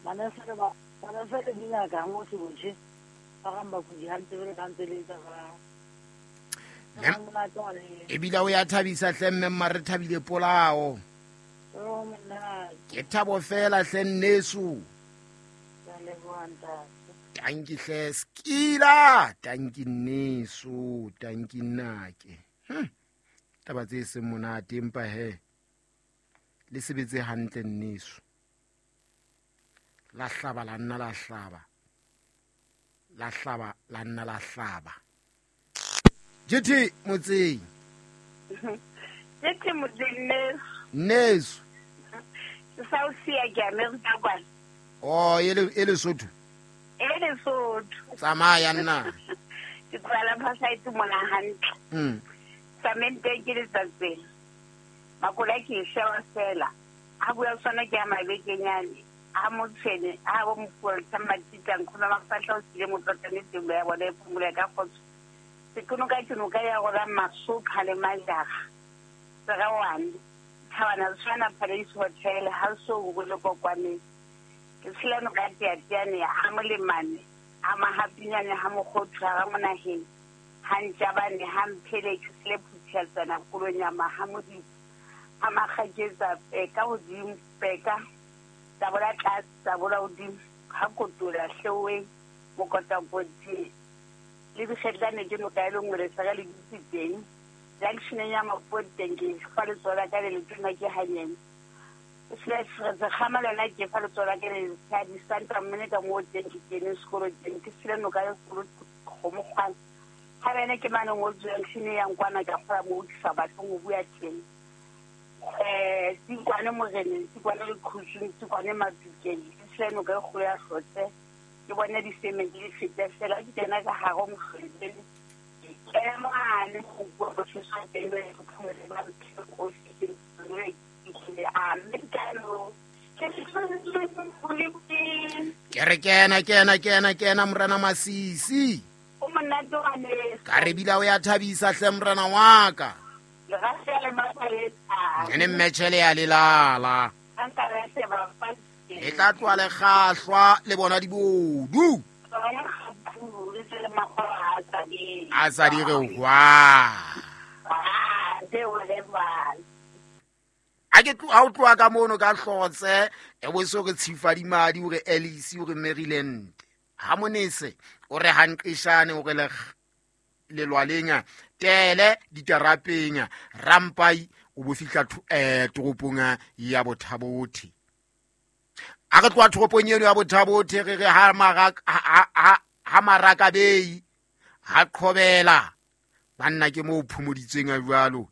Manese le ba manese le dingaka ha motho botjhe. Ba rang bakudi hantle jwalo ka ntse le etsa ba. Monate wa le. Ebile o ya thabisa hle mme mma re thabile polao. Oh monate. Ke thabo fela hle nneso. Ke a leboha ntate. Tanki hle skila, tanki nneso, tanki nnake. Taba tse seng monate empa he le sebetse hantle nneso. La hlaba la nna la hlaba. La hlaba la nna la hlaba. JT motseng. JT motseng nneso. Nneso. Ke sa o siya ke Amerika kwana. Oh, e Lesotho. E Lesotho. Tsamaya nna. Ke kwala phasa mona hantle. Samente ke letsatseng. Makola ke shewa fela. Ha bua sona ke a mabekenyane. Ha motshene, ha bo mofuwa matitang khona mafahla o sile motlotane teng ya bona e phumula ka kgotso. Sekunoka ke noka ya rona masopha le majara. Tserawane. Thabana tshwana Paradise Hotel ha so go le kokwane. Ke tshela noka teateane ha molemane, ha mahapinyane ha mokgothu ha monaheng. Ha ntjabane ha mphele ke sele phutheltsana kolonyama ha modimo. Ha makgaketsa peka hodimo peka. Tabola tlase tabola hodimo ha kotola hleweng mokotakoti. Le dikgetlane ke noka e le nngwe le saka le dutse teng. Junctioneng ya Mapoteng ke fa letsoho la ka le letona ke hanyane. Sekgama lona ke fa letsoho la ka le letshadi Santa Monica moo teng ke kene sekolo teng ke sile noka e kgolo kgomokgwana. Ha bene ke mane ngo junction ya nkwana ka kgola moo ke sa batleng ho bua teng. Tsikwane moreneng, tsikwane lekhusung, tsikwane matukeng, ke sile noka e kgolo ya Hlotse. Ke bone disemente di feta fela ke kena ka hare ho mohlweleng. Ke mane go bua botshwesa teng le go phumela ba ofising Ke re kena kena kena kena morena Masisi. O monate wa neso. Ka re bila o ya thabisa hle morena wa ka. Le ga le mapaletsa. Ene mmetšhele ya lelala. Nka re se ba fa. E tla tloa le kgahlwa le bona dibodu. A sa di re hwa. A ke tloha o tloha ka mono ka Hlotse e bo so re tshifadimadi o re Alice o re Maryland. Ha monese o re hanqeshane o re le lelwaleng tele ditarapeng rampai o bo fihla toropong ya Bothabothe. A re tloha toropong eno ya Bothabothe re re ha Marakabei ha Qhobela banna ke moo phomoditsweng a jwalo.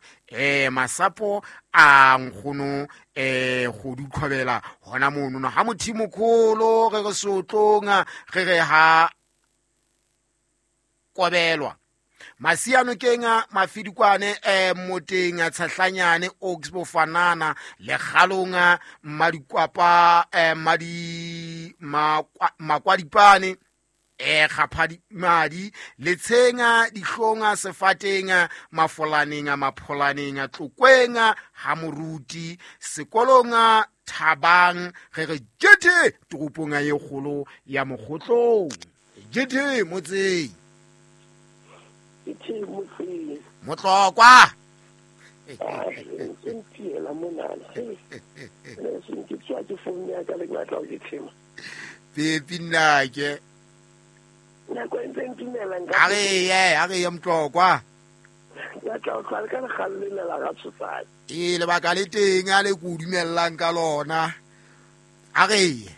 Masapo a nkgono Kgodu Qhobela hona mono ha Mothimokholo re re sotlong re re ha Kobelwa. Masiano kenga mafidikwane moteng tshahlanyane Oaks bofanana le kgalonga madikwapa madi makwadipane kgaphadi madi letshenga dihlonga sefateng mafolaneng mapholaneng tlokwenga ha moruti sekolonga thabang re re jete toropong e kgolo ya Mokgotlong. Jete motseng. Ke motseng. Motlokwa. Ke ntiela monana. Le se ke tswa ke founu ya ka le batla ho ke thema. Pepi nnake. Nako e ntse ntumelang ka. A re ye Motlokwa. Ka tla o tlwala ka lekgalle la ga tshosane. Ee lebaka le teng a le ko dumellang ka lona. A re ye.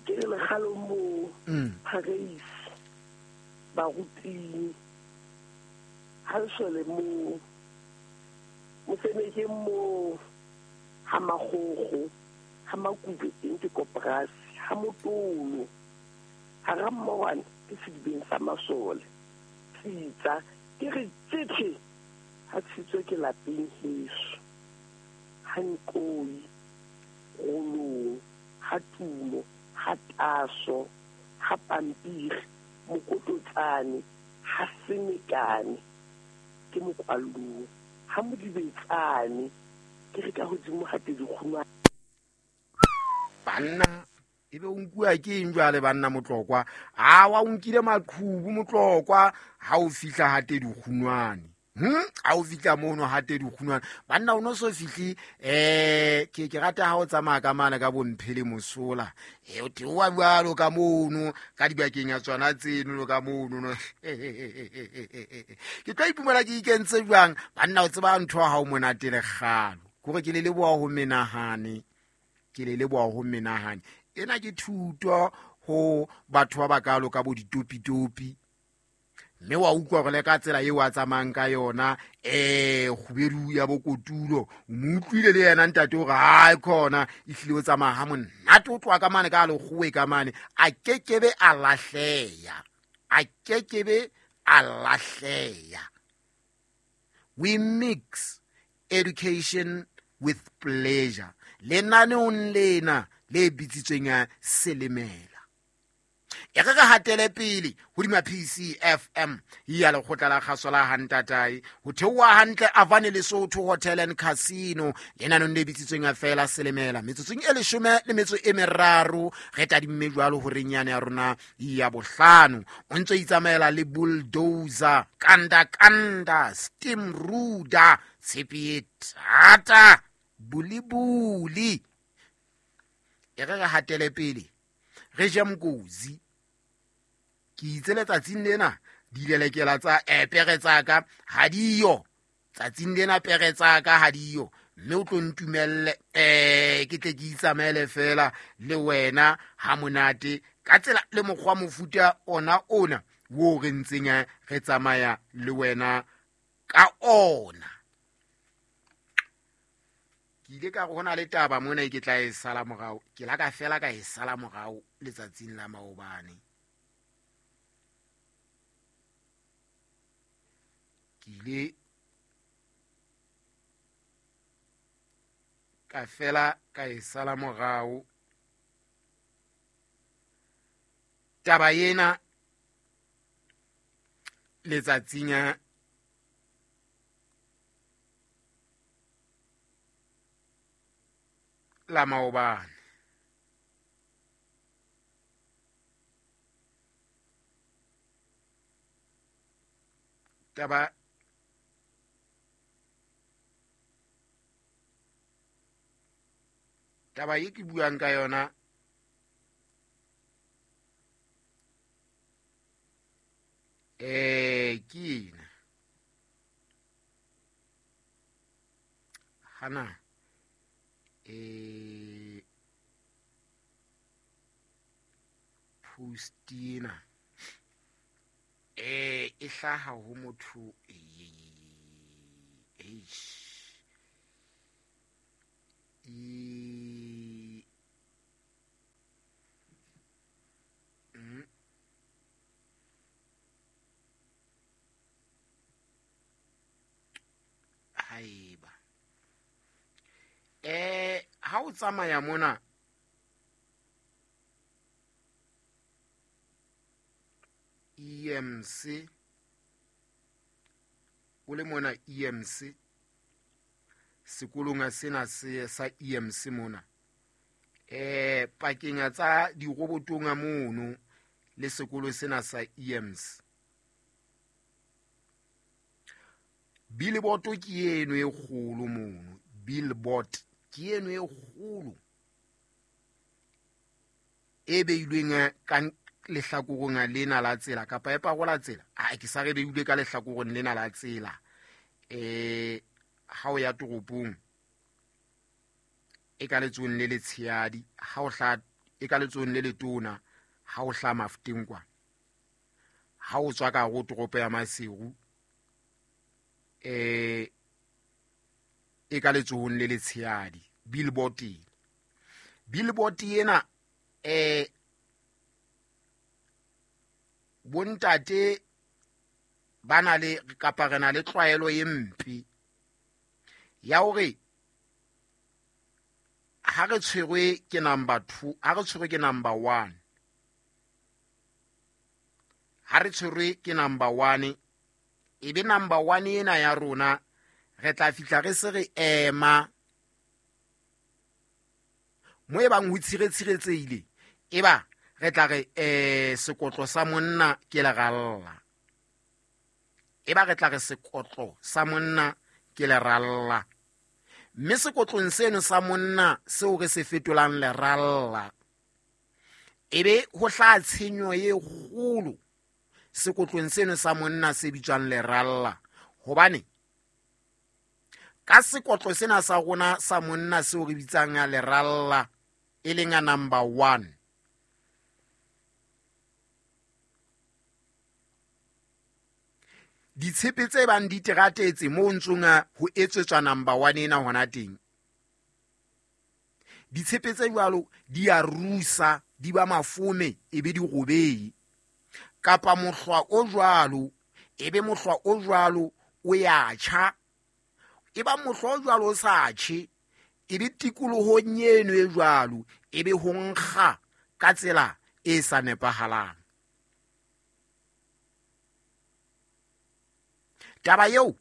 Ke le lekgalong mo Paris. Baruting ha sole mo moseneke mo ha magogo ha makube teng ke koporasi ha motolo ha rammogwane ke sedibeng sa masole tsitsa ke re tsethe ha tshitswe ke lapeng heso ha nkoi rolong ha tumo ha taso ha pampiri mokototsane ha semekane ke mokwalong ha modibetsane ke re ka hodimo ha tedi kguma. Banna ebe o nkuwa ke eng jwale banna Motlokwa? Awa o nkile maqhubu Motlokwa ha o fihla hate dikgunwane. Ha o fihla mono hate dikgunwane. Banna o no so fihle ke rata ha o tsamaya ka mane ka bomphele mosola. O theoha jwalo ka mono ka dibakeng ya tsona tseno ka mono. Ke tlo ipumela ke ikentse jwang? Banna o tseba ntho ha o monate le kgalo. Kore ke le leboha ho menahane. Ke le leboha ho menahane. Ena ke thuto ho batho ba bakalo ka bo ditopitopi. Mme wa utlwa hore le ka tsela eo a tsamayang ka yona, kgubedu ya bokotulo, o mo utlwile le yena ntate hore hae khona ehlile o tsamaya ha monate, o tloha ka mane ka lekgowe ka mane, a kekebe a lahleha, a kekebe a lahleha. We mix education with pleasure. Lenaneong lena le bitsitsweng Selemela. E re re hatele pele hodima PCFM ya lekgotla la kgaso la Hantatai ho theoha hantle Avane Lesotho Hotel and Casino lenanong le bitsitsweng feela Selemela. Metsotsong e 13 re tadimme jwalo horeng yane ya rona ya bohlano. O ntso itsamaela le bulldozer, kanda kanda, steam ruda, tshepe e thata, bulibuli. E re re hatele pele re je mkozi. Ke itse letsatsing lena dilelekela tsa pere tsa ka ha diyo. Tsatsing lena pere tsa ka ha diyo. Mme o tlo ntumelle ke tle ke itsamaele fela le wena ha monate ka tsela le mokgwa mofuta ona ona wo re ntseng re tsamaya le wena ka ona. Ke ile ka re hona le taba mona e ke tla e sala morao, ke la ka fela ka e sala morao letsatsing la maobane. Ke ile ka fela ka e sala morao taba ena letsatsing la maobane. Taba e ke buang ka yona ke ena. Hana post ena e hlaha ho motho haeba ha o tsamaya mona EMC o le mona EMC sekolong sena se sa EMC mona pakeng tsa dirobotong mono le sekolo sena sa EMC, billboard ke eno e kgolo mono, billboard ke eno e kgolo e beilweng ka lehlakoreng lena la tsela kapa e parola tsela. A ke sa re beilwe ka lehlakoreng lena la tsela ha o ya toropong e ka letsohong le letshehadi, ha o hla e ka letsohong le letona ha o hla Mafuteng kwa, ha o tswa ka hare toropo ya Maseru e ka letsohong le letshehadi billboard. Billboard ena bontate ba na le kapa re na le tlwaelo e mpe ya hore ha re tshwerwe ke number 2, ha re tshwerwe ke number 1, ha re tshwerwe ke number 1, e be number 1 ena ya rona re tla fihla re se re ema Mo e bang ho tshiretshiretsehile, e ba re tla re sekotlo sa monna ke leralla. E ba re tla re sekotlo sa monna ke leralla. Mme sekotlong seno sa monna seo re se fetolang leralla, ebe ho hlaha tshenyo e kgolo sekotlong seno sa monna se bitswang leralla. Hobane ka sekotlo sena sa rona sa monna seo re bitsang leralla, e leng a number 1, ditshepe tse bang di teratetse moo ntsong ho etsetswa number 1 ena hona teng, ditshepe tse jwalo di a rusa, di ba mafome, e be di robei. Kapa mohlwa o jwalo, e be mohlwa o jwalo o ya tjha. E ba mohlwa o jwalo o sa tjhe, e be tikolohong eno e jwalo, e be ho nkga ka tsela e sa nepahalang. Taba eo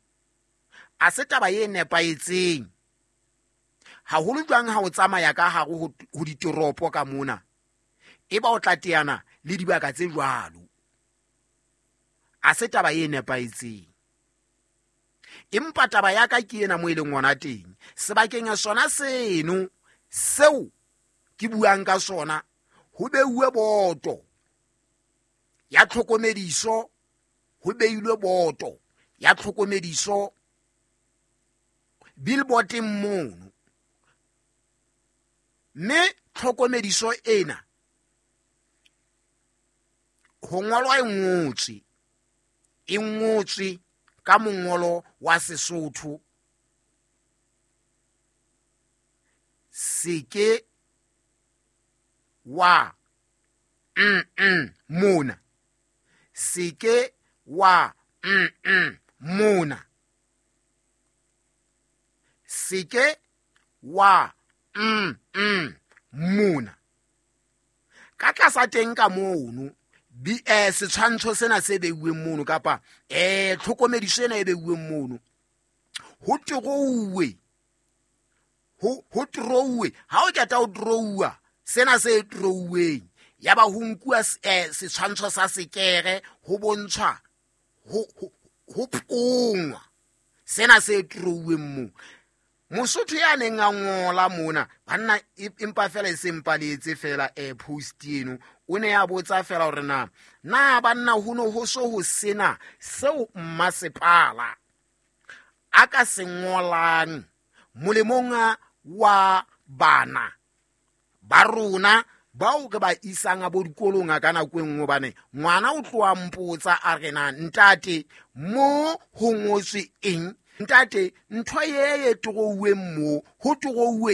a se taba e nepahetseng, haholo jwang ha o tsamaya ka hare ho ditoropo ka mona, e ba o tla teana le dibaka tse jwalo. A se taba e nepahetseng. Empa taba ya ka ke ena mo e leng hona teng, sebakeng sona seno seo ke buang ka sona, ho beuwe boto ya tlhokomediso, ho beilwe boto ya tlhokomediso billboardeng mono. Mme tlhokomediso ena ho ngolwa e ngotswe ka mongolo wa Sesotho, se ke wa mona, se ke wa mona, se ke wa mona. Ka tlasa teng ka mono, setshwantsho sena se beuweng mono, kapa tlhokomediso ena e beuweng mono, ho terouwe, ho terouwe. Ha o qeta ho terouwa sena se terouweng, ya ba ho nkuwa setshwantsho sa sekere, ho bontshwa ho pongwa sena se terouweng moo. Mosotho ya neng a ngola mona, banna, empa fela e se mpaletse fela post eno, o ne a botsa fela hore na banna ho no ho so ho sena seo mmasepala a ka se ngolang molemong wa bana ba rona bao re ba isang a bo dikolong a ka nako e nngwe, hobane ngwana o tloha mpotsa a re na ntate mo ho ngotswe eng, ntate ntho e e terouweng mo ho terouwe